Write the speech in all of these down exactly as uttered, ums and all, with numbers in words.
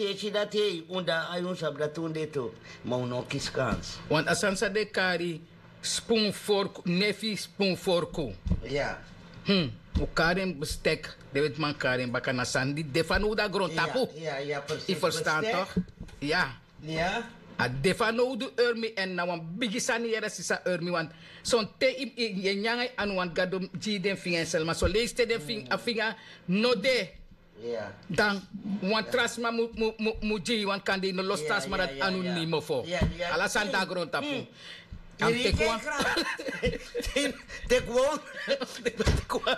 Yu e si dati, un de na ai, un sabi dati un de tu. Ma un no kisi kans. Want a sani san den e kari spun forku, nefi spun forku. Un kari en bestek, den wetiman kari en baka, na sani di de fanowdu na grontapu. Yu ferstan tok? Ya. A de fanowdu, Urmi, èn na wan bigi sani yere, sisa Urmi, want sonten yu e nyan nanga yu anu, want Gado gi yu den finga en sel, ma son leisi te den finga no de, dan wan tra sma mu gi yu, want kande yu no losi tra sma dati anu nimo fo. Ala sani de na grontapu. A mus teki wan, teki wan,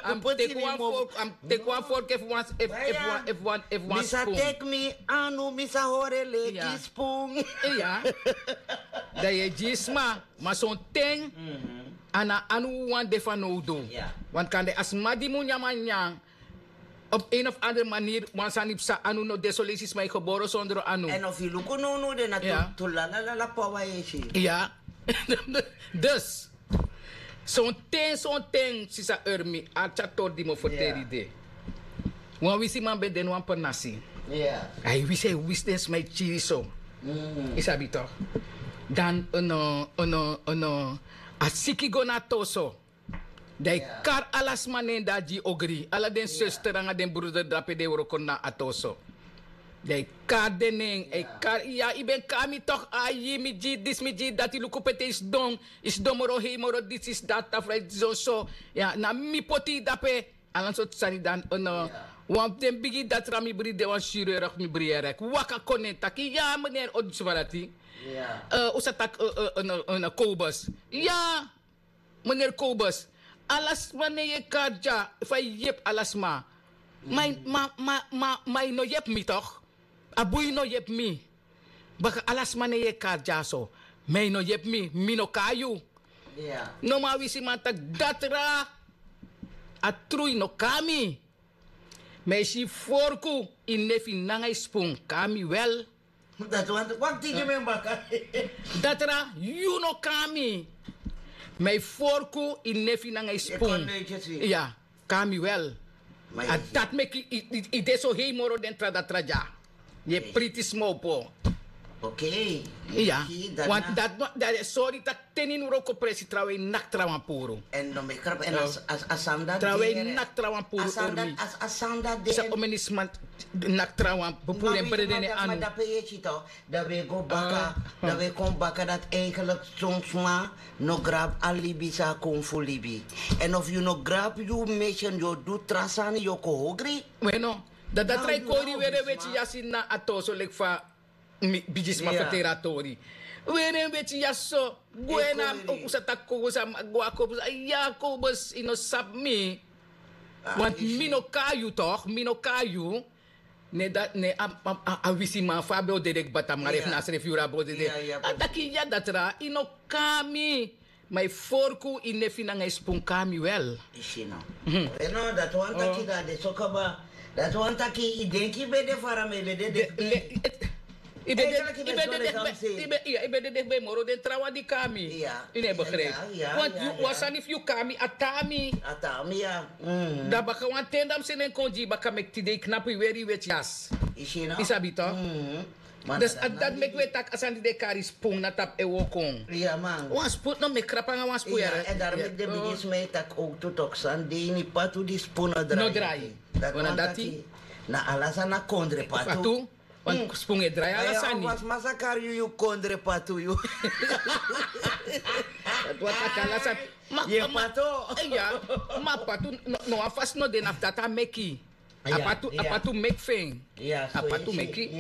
a mus teki wan fork, a mus teki wan fork efu wan, efu wan, efu wan spun. Mi sa teki mi anu, mi sa hori en leki spun. Dan yu e gi sma, ma sonten a na anu wawan de fanowdu. Want kande a sma di mu nyan, man nyan op een of andere manier, wan sani psa, anu no de, son leisi sma e gebore sondro anu. Èn efu yu luku nownow, den na tu, tu lala lala pawa yu e si. Ya. Dus sonten, sonten, sisa Urmi, arki a tori di mi o ferteri de. Wan wisiman ben de na wan pernasi. A e wisi, a e wisi den sma e kiri so. Yu sabi tok? Dan, a siki go na a toso. Dan a e kari ala sma na en dati gi ogri, ala den suster nanga den bruder drape di e wroko na a toso. Dan a e kari den na en, a e kari, ya, yu ben kari mi tok, ai, mi gi disi, mi gi dati, luku pe te yu sidon, yu sidon moro hei, moro disi, disi, dati, tafra yu sidon so. Ya, na mi poti yu drape. Ala sortu sani. Dan wan fu den bigi datra, mi bri de wan chirurg, mi bri en rek waka kon na en taki, ya, meneer, o du sma dati. Un sa taki Kobus. Ya, meneer Kobus, ala sma na en yu e kari dya, fa yu yepi ala sma. Ma, ma, ma, ma yu no yepi mi tok. A bun yu no yepi mi. Baka ala sma na en yu e kari dyaso. Ma yu no yepi mi, mi no kari yu. No, ma a wisiman taki, datra, a tru, yu no kari mi. Ma yu si, forku, yu nefi nanga yu spun kari mi wel. Dati wani taki, wakti gi mi en baka. Datra, yu no kari mi. Ma yu forku, yu nefi nanga yu spun, ya, kari mi wel. A dati meki yu de so hei moro den tra datra dya. Yu e priti sma opo. Okei. Ya. Dati, dati, sori taki te yu no wroko presi, trawan e naki trawan puru. Èn no meki krapu, èn a sani dati, trawan e naki trawan puru. A sani dati, a sani dati de. San omeni sma naki trawan puru en brede na en anu. Dape yu e si tok, dan wi e go baka, dan wi e kon baka dati, eigenlijk son sma no grabu a libi san a kon fu libi. Èn efu yu no grabu yu mission, yu o du tra sani, yu o kon ogri. Weno, dan datra e kori weri en weti yasi na a toso, leki fa mi bigisma ferteri a tori. Weri en weti yasi so, gwe na, un sa taki Kobus, a man gwe na Kobus, ya, Kobus, yu no sabi mi. Want mi no kari yu tok, mi no kari yu. Ne dati, ne a, a, a wisiman, fa a ben o dede kba tamari, efu na a srefi yuru a ben o dede. A taki, ya, datra, yu no kari mi. Ma yu forku, yu nefi nanga yu spun kari mi wel. Yu si no? No, dati wani taki, dati de so kaba. Dati wani taki yu denki yu ben de fara, ma yu ben de dikhbi. Yu ben de dikhbi, yu ben, ya, yu ben de dikhbi moro den trawan di kari mi. Yu no e begrijpi. Want yu, wan sani, efu yu kari mi, a tan mi. A tan mi, ya. Dan baka wan ten dan mi seni en kon gi yu baka, meki tide yu knapu, yu weri yu weti yasi. Yu si no? Yu sabi tok? Dus a dati meki wi e taki a sani di den e kari spun na tapu e wooko. Wan spun no meki krapu nanga wan spun yere. Èn dati meki den bigisma e taki owktu tok, san de ini patu di spun no drai. Dati wani taki na ala sani na kondre patu. Wan spun e drai ala sani. Wan sma sa kari yu, yu kondre patu yu. Dati wani taki ala sani. Ma patu, ya, ma patu no wan fasi no de na fu dati a meki. A patu, a patu meki fu en. A patu meki.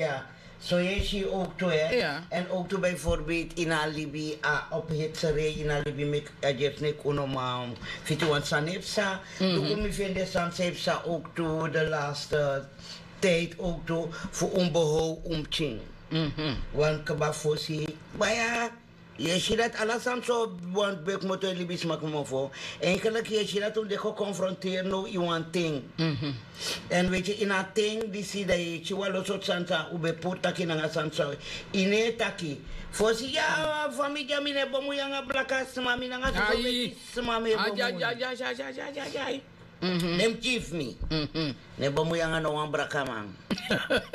So yu e si owktu, hè. Èn owktu bijvoorbeeld ini a libi, a ophitserij ini a libi meki a gersi neki unu man fiti wan sani e psa. Luku mi feni den sani san e psa owktu de laatste tijd owktu, fu un behow un pikin. Wan kba fosi, baya. Yu e si dati ala sani so, wan beki moto e libisma kmoto. Eigenlijk yu e si dati un de geconfronteerd now ini wan ten. Èn weti, ini a ten disi dan yu e si wan lo sortu sani san un ben puru taki nanga sani san yu no e taki. Fosi, ya, famiri dya, mi no e bemui nanga blaka sma, mi nanga so weti sma mi e bemui. Den mus gi fu mi. No e bemui nanga no wan blakaman.